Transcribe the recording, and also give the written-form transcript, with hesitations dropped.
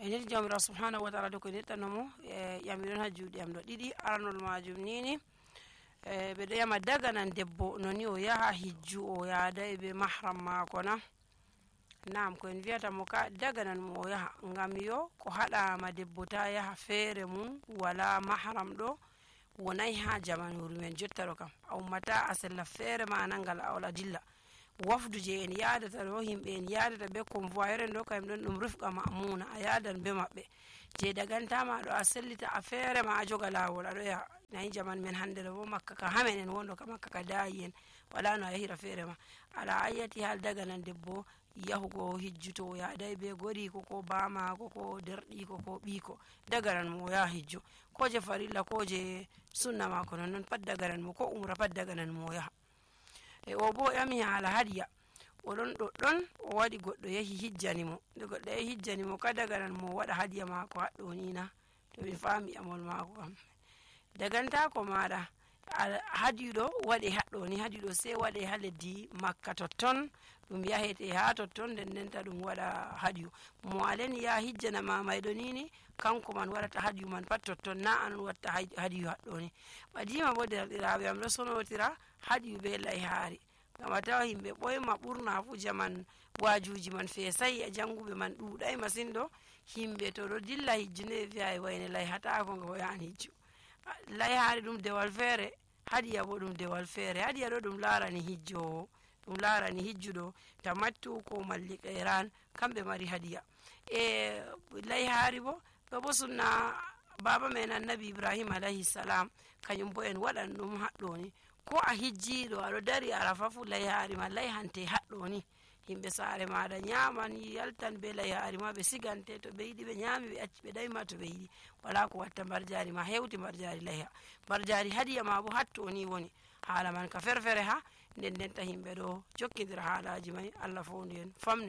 enir jamira subhanahu wa ta'ala do ko nettanomo yamiron ha juuɗe am ɗo ɗiɗi. Aranol majum nini ɓe ɗo yama daga nan debbo noni o yaha hijju o yaadai be mahram mako na. Naam, ko en wiyata mo ka daga nan mo o yaha ngam yo ko haɗama debbo ta yaha feere mum wala mahram ɗo wonai ha jamanuru men jotta ɗo kam a ummata a sella feere ma nangal awla dilla. Wafdu je en yadata ɗo himɓe en yadata be convoyeur en ɗo kayum ɗon ɗum rufqa ma'muna a yadan be maɓɓe je dagantama ɗo a sellita a feere ma a joga lawol aɗo yaha. Nayi jaman men hande ɗo bo makka ka hamen en wondo ka makka ka dayi en wala no a yahira feere ma ala ayyati hal daga nan debbo yahugo hijju to yaadai be goriko ko bamako ko derɗiko ko ɓiko daga nan mo yaha hijju ko je farilla ko je sunna mako non pat daga nan mo ko umra pat daga nan mo yaha. O bo yami hala hadiya oɗon ɗoɗɗon o waɗi goɗɗo yahi hijjani mo nde goɗɗo yahi hijjani mo ka daga nan mo waɗa hadiya mako haɗɗo ni na to mi fami amol mako kam dagantako maɗa hadiyu ɗo waɗe haɗɗo ni hadiyu ɗo sai waɗe ha leddi makka totton ɗum yahete ha totton nden ndenta ɗum waɗa hadiyu mo aleni ya hijjana mamayɗo nini kanko man waɗata hadiyu man pat totton na an watta hadiyu haɗɗo ni. Ɓadima bo derɗiraɓe am ɗo sonotira hadiyu be layhaari ngam a tawa himɓe ɓoyma ɓurna fu jaman wajuji man fesai e janguɓe man ɗuɗai masin ɗo himɓe to ɗo dilla hijju nde wiya wayne layhatako ngo yahan hijju. Layhaari ɗum dewal feere hadiya bo ɗum dewal feere. Hadiya ɗo ɗum larani hijjowo ɗum larani hijjuɗo tamattu ko malli qeran kamɓe mari hadiya layhaari bo ɗo bo sunna baba men annabi ibrahim alayhi salam kañum bo en waɗan ɗum haɗɗo ni ko a hijjiɗo aɗo dari arafa fu layhaari ma layhante haɗɗo ni himɓe saare maɗa nyaman yaltan be layhaari ma ɓe sigante to ɓe yiɗi ɓe nyami ɓe acci ɓe ɗayma to ɓe yiɗi wala ko watta mbarjari ma hewti mbarjari layha mbarjari hadiya ma bo hatto ni woni hala man ka ferfere ha nden ndenta himɓe ɗo jokkidira haalaji may Allah fowndu en famne